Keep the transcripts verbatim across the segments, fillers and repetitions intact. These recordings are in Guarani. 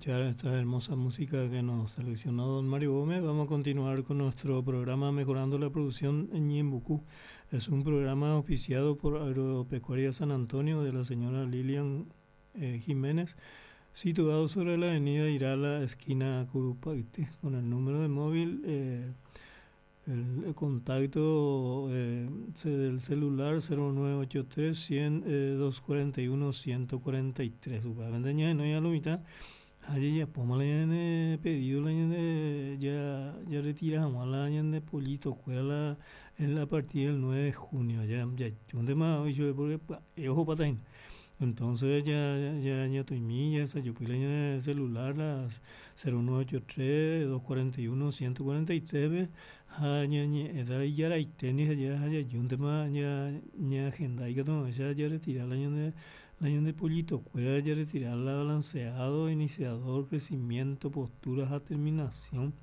Escuchar esta hermosa música que nos seleccionó don Mario Gómez, vamos a continuar con nuestro programa Mejorando la Producción en Ñeembucú. Es un programa auspiciado por Agropecuaria San Antonio de la señora Lilian eh, Jiménez, situado sobre la avenida Irala, esquina Curupayty, con el número de móvil, eh, el, el contacto eh, del celular cero nueve ocho tres cien, eh, dos cuarenta y uno, ciento cuarenta y tres. No ya lo mitad. Ayer ya poma la de pedido la de ya ya retira la de pollito cuera la en la partida del nueve de junio ya ya un tema hoy yo porque ojo patain. Entonces ya ya ya estoy mi ya esa yo puse la de celular las cero nueve ocho tres dos cuarenta y uno ciento cuarenta y tres ja ña ñe eda ya la tenis ya ya yo un tema ya ya agenda y que todo ya ya retira la de la de pollito cuera ya retirar la balanceado, iniciador, crecimiento, posturas a terminación.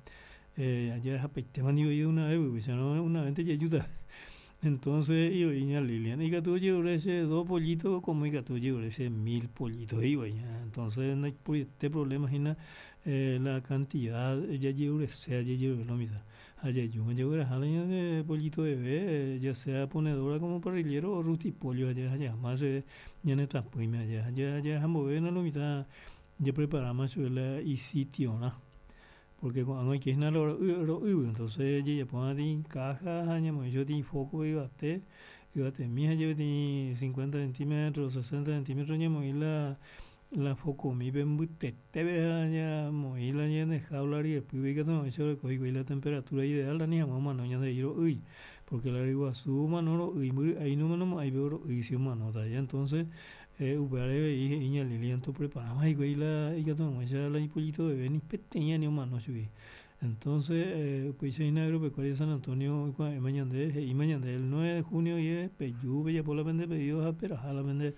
Eh, ayer japeite mani oí de una vez, porque ya no una vez te ayuda. Entonces, y oí ña Lilian, y que tú llevas ese dos pollitos, como y que tú llevas ese mil pollitos, y oí, ña. Entonces, no hay por este problema, sino, eh, la cantidad, ya llevo ese, ya llevo lo mismo. Allá yo me llevo la jala de pollito bebé, eh, ya sea ponedora como parrillero o rutipollo, allá, allá, más, eh, ya no está, pues, allá, allá, allá, jambo, ve, no lo mitad, ya preparamos la y sitio, ¿no? Porque cuando hay que ir a lo, lo, entonces ya pone en caja, ya me yo tiene foco y bate, y bate mija, yo tiene cincuenta centímetros, sesenta centímetros, ya me la la foco mi ven muy tete, vea, ya me la ya de jaula y después ve que no eso le cogí la temperatura ideal, la ni mamá no ya de ir uy, porque la iguazú mano uy, muy ahí no mano ahí veo uy si mano ya entonces eh upare y iña lilianto preparamos y güey la y que no ya la pollito de ven pequeña ni mano subí. Entonces, eh, pues en Agropecuaria San Antonio, y mañana de, y mañana el nueve de junio y es peyú, ya por la vende pedidos a pero a la vende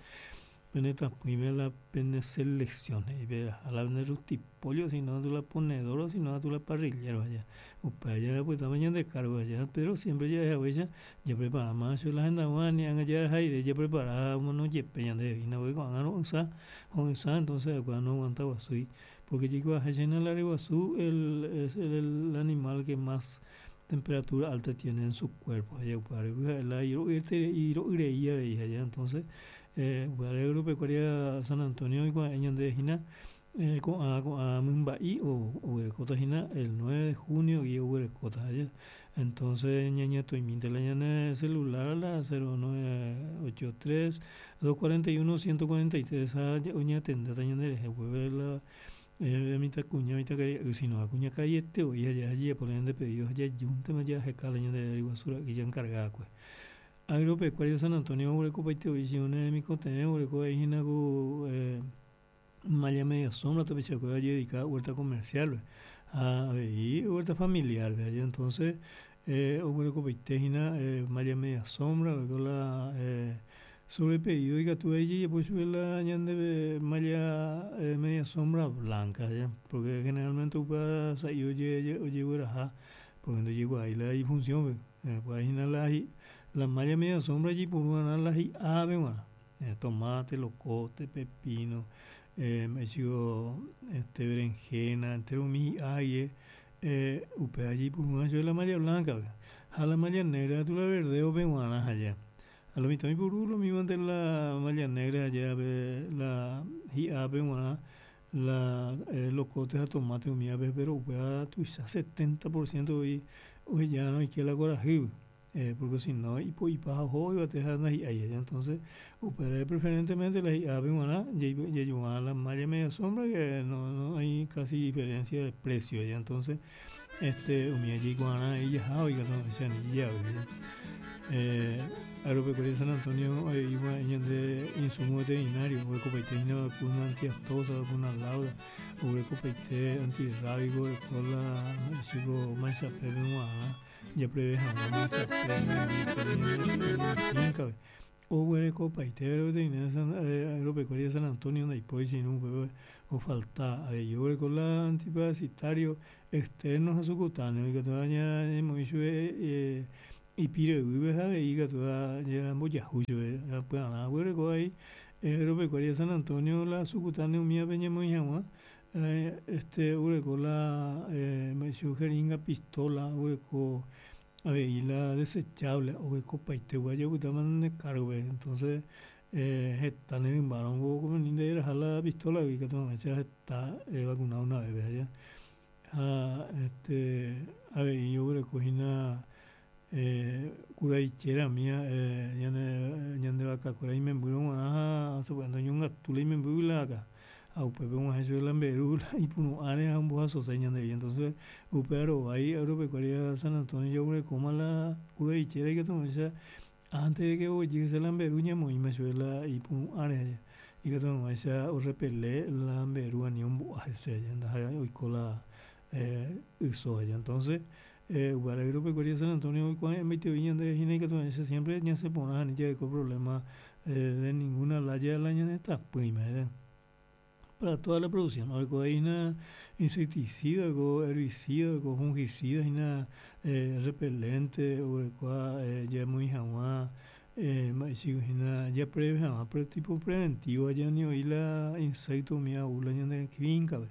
peneta primera la pene selección y ver a la vende rutipolio si no tú la ponedora si no tú la parrillero allá o para allá pues también de cargo allá pero siempre ya ya ya ya prepara más la agenda ni allá aire ya prepara uno yepe de vino voy con no usa con esa entonces cuando no aguantaba así porque llegó a llenar la iguazú el es el, el animal que más temperatura alta tiene en su cuerpo allá para la iro allá entonces eh Agropecuaria San Antonio y con de Gina eh con a con a Mumbai o o Cotagina el nueve de junio y Cota allá entonces ñaña estoy minte la ñana celular a la cero nueve ocho tres dos cuarenta y uno ciento cuarenta y tres a oña tenda taña de jueves la eh mi ta cuña mi ta calle si no cuña calle te voy allá allí por de pedidos allá junta me ya jecala ña de basura y ya encargada pues Agropecuaria San Antonio, Urecopaite, Oisione, Micote, Ureco, Hinago, Malla Media Sombra, Tapichaco, dedicada a huerta comercial, a y huerta familiar, ¿ve? Entonces, eh, Urecopaite, Hina, Malla Media Sombra, la eh, sobre pedido y que allí, pues sube la ñande malla eh, media sombra blanca, ¿ya? Porque generalmente upa sa oye oye oye porque no llegó ahí la función, eh, pues ahí la la malla media sombra allí por una la ave bueno, eh, tomate, locote, pepino, eh, me este berenjena, entero mi aye, eh, upe allí por una yo la malla blanca, a la malla negra tú la verde o peguana allá. A lo mismo por lo mismo ante la malla negra allá ve la ave bueno, la eh, locote a tomate o mi ave pero upe a tu setenta por ciento y hoy ya no hay que la coraje. Eh, porque si no, y pues y pa jo y te ahí ahí entonces opera preferentemente la ave humana ya ya la malla media sombra que no no hay casi diferencia de precio ya entonces este umia guana y ya oiga no se ni ya eh Agropecuaria San Antonio eh, igual de insumo veterinario o vacuna antiaftosa vacuna lauda o antirrábico con la chico mancha pepe ya prevé o hueco paitero de Agropecuaria San Antonio no hay sin un o falta yo con la antiparasitario externo a subcutáneo y que todavía hemos hecho y pire vive y que todavía voy a juicio pues nada hueco ahí Agropecuaria San Antonio la subcutáneo mía peña muy agua Eh, este oguereko la eh, jeringa pistola oguereko avei la desechable oguerekopaite opytáma nde cargo-pe entonces eh, heta ne rymbárõ ko nderaha la pistola-gui ikatu hag̃uáicha heta evacuna una vez aja ha este avei oguerekohína eh, kuraichérami eh, ñane ñande vakakuéra imembýrõ g̃uarã ha sapy'ánte oñongatu la imembýgui la vaka ha upépe og̃uahẽ chupe la mberu la ipuru'ãre ha ombohasose ñandéve entonces upéva rovái Agropecuaria San Antonio jaguerekóma la kuraichera ikatu hag̃uáicha antes de que oguejy hese la mberu ñamoĩma chupe la ipuru'ãre ikatu hag̃uáicha orepele la mberu ani ombo'a hese ndaha'éi oiko la eh, yso aja entonces eh, upévare Agropecuaria San Antonio oikuave'ẽmbaitevoi ñandéve hína ikatu hag̃uáicha siempre ñasẽ porã ani jareko problema eh, de ninguna laya la ñane tapỹime para toda la producción orekohína insecticida oiko herbicida oiko fungicida hína eh, repelente oguerekóva eh, jamoĩ hag̃ua eh, mba'eichagua hína japreve hag̃ua pero tipo preventivo oĩ la insecto umíva ou la ñande finca-pe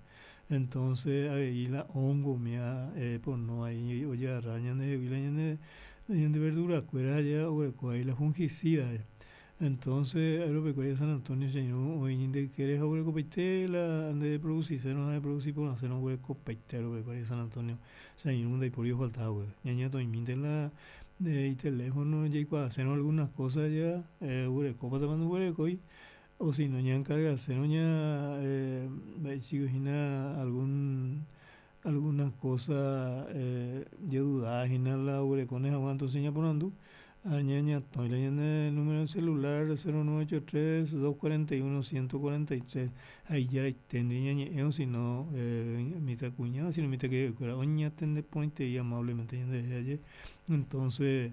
entonces avei la hongo umíva eh, pono ahí ojagarra ñandehegui la ñande ñande verdura-kuéra aja oguereko ahí la fungicida entonces Agropecuaria San Antonio che irũ oĩ nde ykére ha oguerekopaite la nde producirõ ha reproduci porãsérõ oguerekopaite Agropecuaria San Antonio che irũ ndaipóri ofalta hague ñañatoĩmínte la iteléfono jaikuaasérõ algunas cosas ja eh, oguerekópatapa ndoguerekói o si no ñaencargasérõ ña eh, mba'eichagua hína algún alguna cosa eh, jadudahína la oguerekóne hag̃ua entonces ñaporandu ha ñañatõi la ñane número de celular cero nueve ocho tres dos cuarenta y uno ciento cuarenta y tres ha ijaraite ñañe'ẽ o si no eh, mitãkuña o si no mitãkaria'ykuéra oñatende porãitei amablemente ñanderehe aje entonces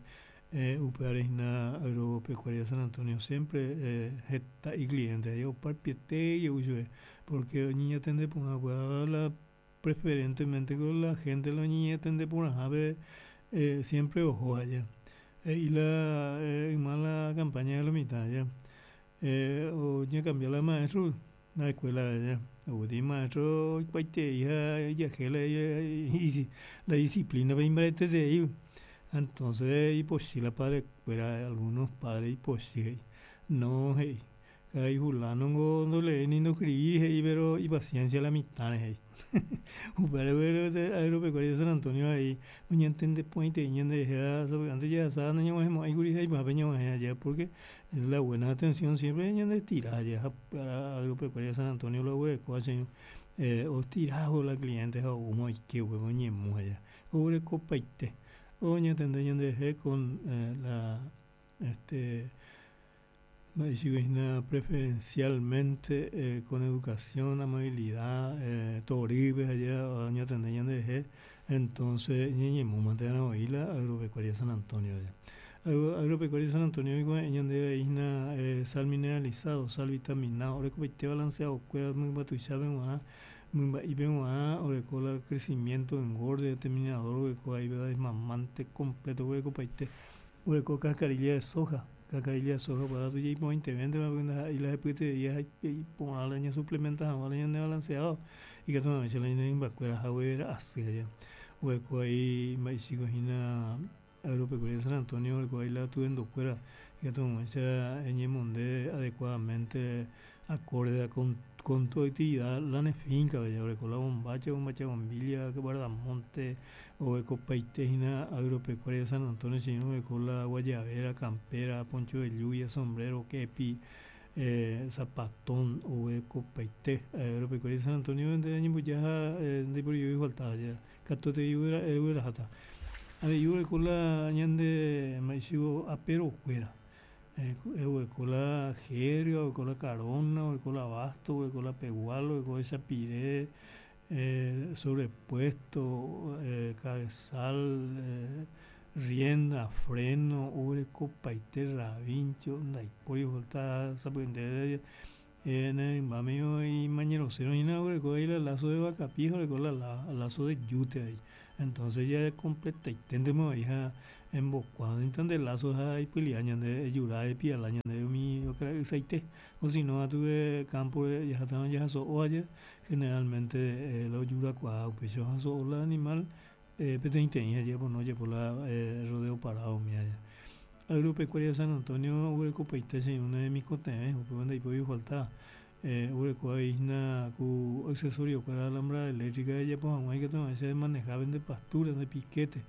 eh, upévare hína Agropecuaria San Antonio siempre eh, heta icliente aje oparupiete jey chupe porque oñeñatende porã upéva la preferentemente con la gente la oñeñatende porãhápe eh, siempre oho aja he'i la eh, yma la campaña de lo mitã aja eh, oñecambia la maestro la escuela aja oguetei maestro oikuaitei ha ijajéla la disciplina-pe imbaretetei entonces ipochy la padre-kuéra algunos padres ipochy he'i no he'i karai fulano ngo ndoleéi ni ndoescribíri he'i pero ipaciencia la mitãre he'i upévare Agropecuaria San Antonio avei oñantende porãitei ñanderehe ha sapy'ánte jahasa nañag̃uahẽmo'ãikuri ha ipahápe ñag̃uahẽ aja porque la buena atención siempre ñandestira aja ha Agropecuaria San Antonio la oguerekóva che irũ eh, ostiraho la cliente ha oúma oike upépe oñemu aja oguerekopaite oñatende ñanderehe con eh, la este mba'eichagua hína preferencialmente eh, con educación, amabilidad, eh, torýpe aja oñatende ñanderehe entonces ñañemúmante oĩ la Agropecuaria San Antonio aja Agropecuaria San Antonio oikuave'ẽ ñandéve hína eh, sal mineralizado, sal vitaminado orekopaite balanceado-kuéra mymba tuichápe g̃uarã mymba'ípe g̃uarã oreko la crecimiento, engorde, determinador oguereko ahí desmamante completo oguerekopaite oguereko cascarilla de soja cascarilla de soja upéva tuichaiporãitevéntema porque ndaha'éi la hepyeterei ha iporã la ñasuplementa hag̃ua la ñande balanceado ikatu hag̃uáicha la ñane rymbakuéra haguera asy aja oguereko ahí mba'eichagua hína Agropecuaria San Antonio oguereko ahí la atuendokuéra ikatu hag̃uáicha eñemonde adecuadamente acorde con, con tu actividad la ne finca oguereko la bombacha, bombacha bombilla, guardamonte oguerekopaite hína Agropecuaria San Antonio che irũ oguereko la guayabera, campera, poncho de lluvia, sombrero, kepi, eh, zapatón oguerekopaite Agropecuaria San Antonio nde añembojáha eh, ndaiporivéi falta aja katuete ogueraháta avei oguereko la ñande mba'eichagua aperokuéra eh, oguereko la jerga, oguereko la carona, oguereko la basto, oguereko la pegual, oguereko echapire eh, sobrepuesto, eh, cabezal, eh, rienda, freno, oguerekopaite rabincho, ndaipóri falta sapy'ánte eh, ne rymbáme imañerosérõ hína oguereko ahí la lazo de vacapí ha oguereko la lazo de yute ahí entonces ya completaiténtema oĩ ha Embokuã de lazo ha ipulia ñande ejura epiala ñande umi ysaite o si no atuve campo jahátava jahaso'o aja generalmente la ojurakuaa upéicha ohaso'o la animal peteĩteĩ ha pono ojapo la rodeo parado umía. Agropecuaria San Antonio oguerekopaite che irũ ne remikotevẽ upéva ndaipóri ofalta oguereko avei hína ku accesorio-kuéra alambrada eléctrica ejapo hag̃ua ikatu hag̃uáicha emaneja nde pastura nde piquete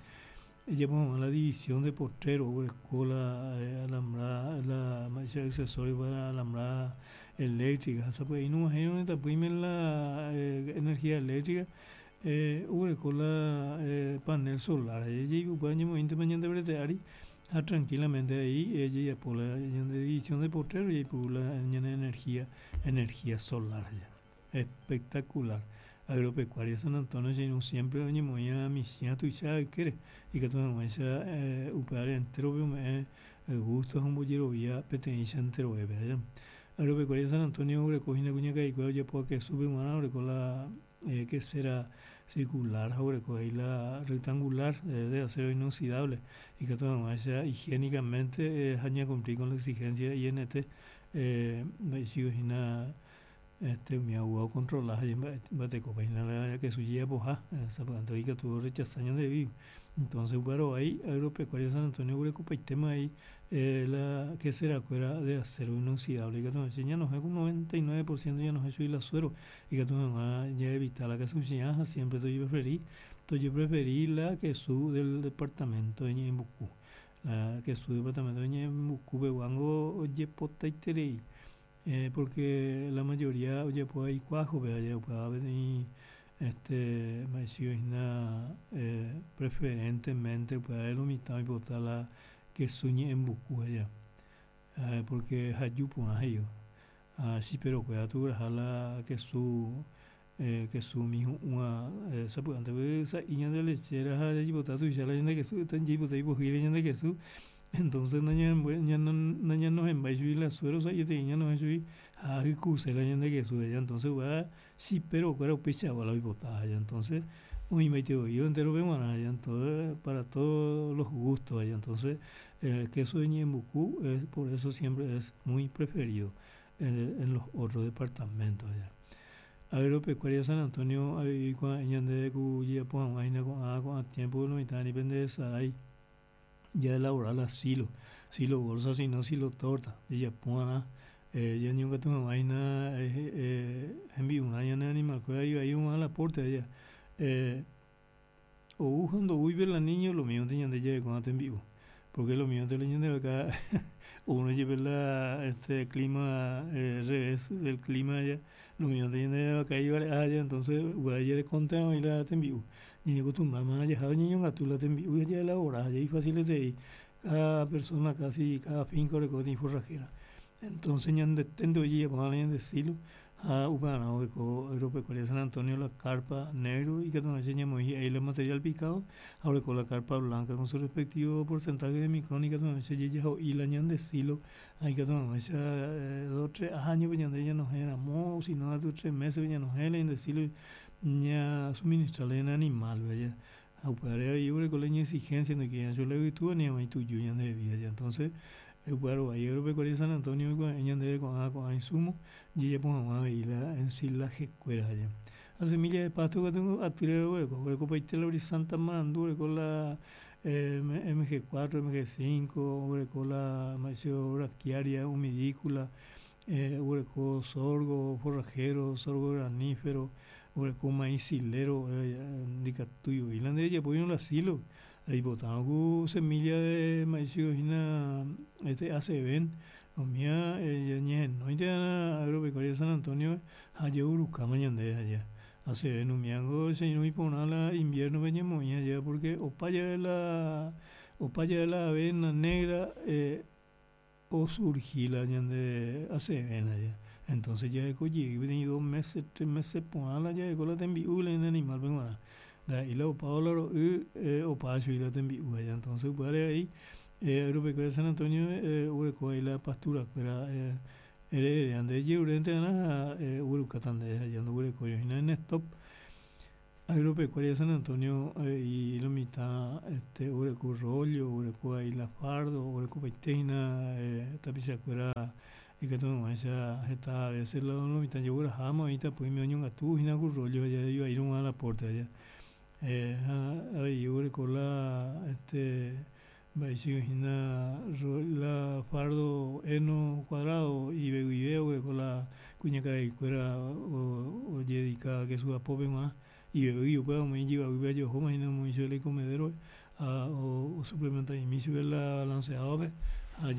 ejapo hag̃ua la división de potrero oguereko la alambrada la mba'éicha accesorio para alambrada eléctrica ha sapy'ai nog̃uahẽirõ ne tapỹime la energía eléctrica oguereko la panel solar upéva ñamoĩntema ñande brete ári ha tranquilamente avei jajapo la ñande división de potrero jaipuru la ñane energía energía solar espectacular. Agropecuaria San Antonio che irũ siempre oñemoĩva michĩ ha tuicha ykére ikatu hag̃uáicha upévare entérope ome'ẽ gusto ha ombojerovia peteĩcha enterovépe aja. Agropecuaria San Antonio oguereko hína kuñakaikuéra ojapo kesúpe g̃uarã oreko la quesera circular ha oguereko avei la rectangular de acero inoxidable ikatu hag̃uáicha higiénicamente ha ñacumplir con la exigencia I N T mba'eichiko hína este umi ocontrola ha mba'etekópa hína la kesu jejapoha sapy'ánte ikatu orechasa ñandehegui entonces upéva rovái Agropecuaria San Antonio oguerekopaitéma avei la quesera-kuéra de acero inoxidable ikatu hag̃uáicha ñanohẽ ku noventa y nueve por ciento ñanohẽ chugui la suero ikatu hag̃ua jaevita la kesu chiã ha siempre tojepreferi tojepreferi la kesu del departamento de Ñe'ẽmbuku la kesu departamento de Ñe'ẽmbukupeguángo ojepotaiterei porque la mayoría ojapóva ikuájope upéva peteĩ este mba'eichiko hína preferentemente upévare lo mitã oipota la kesu Ñe'ẽmbuku aja porque haju porã he'i ha chiperokuéra togueraha la kesu kesu umi hu'ũva sapy'ánte sa'i ñande lechera ha jaipota tuicha la ñande kesu jaipota ipohýi la ñande kesu entonces nañanohẽmbái chugui la suero sa'ieterei ñanohẽ chugui ha hykuse la ñande kesu entonces upéva chiperokuéra upeichagua la oipota entonces oĩmbaitevoi enterope g̃uarã para todos los gustos entonces kesu de Ñe'ẽmbuku por eso siempre es muy preferido en los otros departamentos. Agropecuaria San Antonio avei oikuave'ẽ ñandéve ku jajapo hag̃ua hína ko'ã ko'ã tiempo lo mitã ani penderesarái jaelabora la silo, silo bolsa sino silo torta jajapova'erã ñañongatu hag̃ua hína hembi'urã ñane animal-kuéra ivai og̃uahẽ la aporte aja ou ha ndoúipe la niño lo mismo ñande jarekóva tembi'u porque lo mismo la ñande vaka oúrõ jepe la este clima revés del clima aja lo mismo ñande vaka ivare'a aja entonces upéva jarekontevoi la tembi'u ñañeacostumbrama jaha ñañongatu la tembi'u jaelabora ha ifacileterei cada persona casi cada finca oreko peteĩ forrajera entonces ñandeténte ojejapo ñande silo ha upevarã oreko Agropecuaria San Antonio la carpa negro ikatu hag̃uáicha ñamoĩ hi'ái la material picado ha oreko la carpa blanca con su respectivo porcentaje de micrón ikatu hag̃uáicha jajaho'i la ñande silo ha ikatu hag̃uáicha dos tres años ñande ñanohẽ ramo sino katu tres meses ñanohẽ la ñande silo ñasuministra la ñane animal aja ha upévare avei oguereko la iñexigencia ndoikéi la yvytu ani hag̃ua ituju ñandehegui aja entonces upéva rovái Agropecuaria San Antonio oikuave'ẽ ñandéve ko'ã ko'ã insumo jajapo hag̃ua avei la ensilajekuéra aja. Ha semilla de pasto katu atýre roguereko oguerekopaite la brisanta marandu oreko la M G cuatro, M G cinco, oguereko la mba'éicha braquiaria, humidícula, oguereko sorgo forrajero, sorgo granífero, oguereko maíz silero ndikatúi la ndejapóirõ la silo reipotárõ ku semilla de mba'éicha hína este A C V umía ñahenóinte Agropecuaria San Antonio ha jaurukáma ñandéve aja A C V umíango che irũ iporã la invierno-pe ñamoĩ aja porque opa jave la opa jave la avena negra osurgi la ñande A C V aja entonces jareko jey peteĩ dos meses tres meses porã la jareko la tembi'u la ñane animal-pe g̃uarã ndaha'éi la opávo la ro'y opa chugui la tembi'u aja entonces upévare avei Agropecuaria San Antonio oguereko avei la pastura-kuéra ere ere nde ejerurénte'arã ha oguerukáta ndéve aja ndoguerekói hína en stock. Agropecuaria San Antonio y lo mitad este oguereko rollo, oguereko ahí la fardo, oguerekopaite hína tapichakuéra ikatu hag̃uáicha heta a veces lo mitã jegueraháma oĩ tapỹime oñongatu hína ku rollo ivaírõ la porte aja ha avei oguereko la este mba'éicha hína la fardo heno cuadrado ivevuive oguereko la kuñakaraikuéra ojededika kesu apópe g̃uarã ivevýi upéva omoĩ ijyvaguýpe ajohóma hína omoĩ chupe la icomedero ha osuplementa'imi chupe la balanceado-pe ha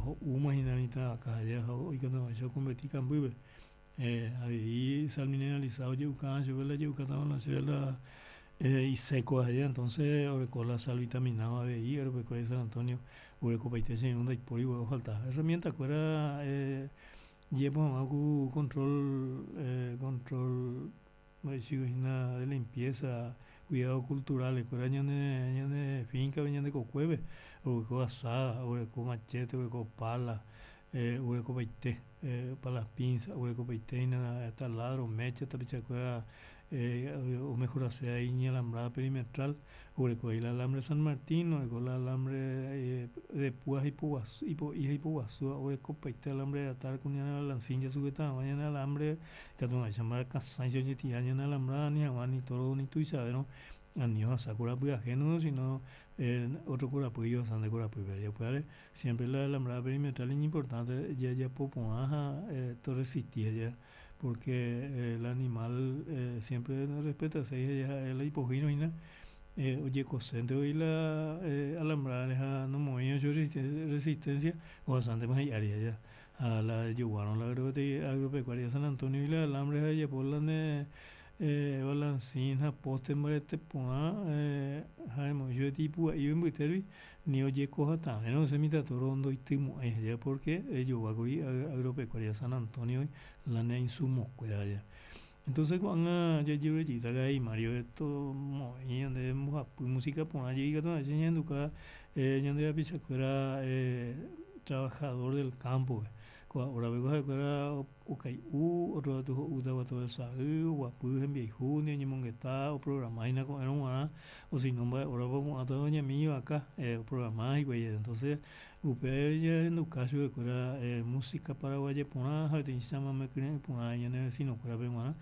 ho'úma hína mitã vaka ha oikatu hag̃uáicha oconverti kambýpe avei sal mineralizada oje'uka chupe la je'ukáta chupe la iseco aja entonces oreko la sal vitaminado avei Agropecuaria San Antonio oguerekopaite che irũ ndaipóri ofalta herramienta-kuéra jepo hag̃ua ku control control mba'éicha hína de limpieza cuidado cultural-kuéra ñane ñane finca-pe ñande kokuépe oguereko azada, oguereko machete, oguereko pala, oguerekopaite palas pinza, oguerekopaite hína taladro, mecha tapichakuéra omejorase iñalambrada perimetral oguereko avei la alambre San Martín, oguereko la alambre de púa ipoguasu ipo'i ha ipoguasúva oguerekopaite alambre de atar ku ñane balancín jasugeta hag̃ua ñane alambre ikatu hag̃uáicha mbarakasãicha ojetira ñane alambrada ani hag̃ua ni toro ni tuichavérõ ani ohasa korapy ajeno sino otro korapy ohasa nde korapýpe upévare siempre la alambrada perimetral iñimportante jajapo porã ha toresisti aja porque el animal siempre respetase ha'e la ipohýirõ hína ojekoséntevoi la alambrada ha nomoĩrõ chupe resistencia ohasántema hi'ári aja ha la ejoguárõ la Agropecuaria San Antonio-gui la alambre ha ejapo la ne balancín ha poste mbarete porã ha emoĩ chupe tipua'i mbytérupi ni ojeko hatãvérõ hese mitã toro ndoitymo'ãi aja porque ejoguákuri Agropecuaria San Antonio-gui la ne insumokuéra aja entonces ko'ág̃a jajerurejýta karai Mario tomoĩ ñande mbohapy música porã jey ikatu hag̃uáicha ñahenduka ñande rapichakuéra trabajador del campo-pe ko'ã horape ha'ekuéra okai'u otro katu ho'u taguato sa'y oguapy hembiayhu oñemongeta oprograma hína ko'ẽrõ g̃uarã osino mba'e horapa opu'ãta oñami ivaka oprograma hikuái entonces upe jahenduka chupekuéra música paraguaya porã ha peteĩ chamame kyre'ỹ porã ñane vecino-kuérape g̃uarã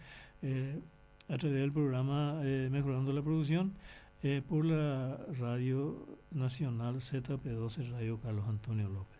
a través del programa Mejorando la Producción por la Radio Nacional Z P doce Radio Carlos Antonio López.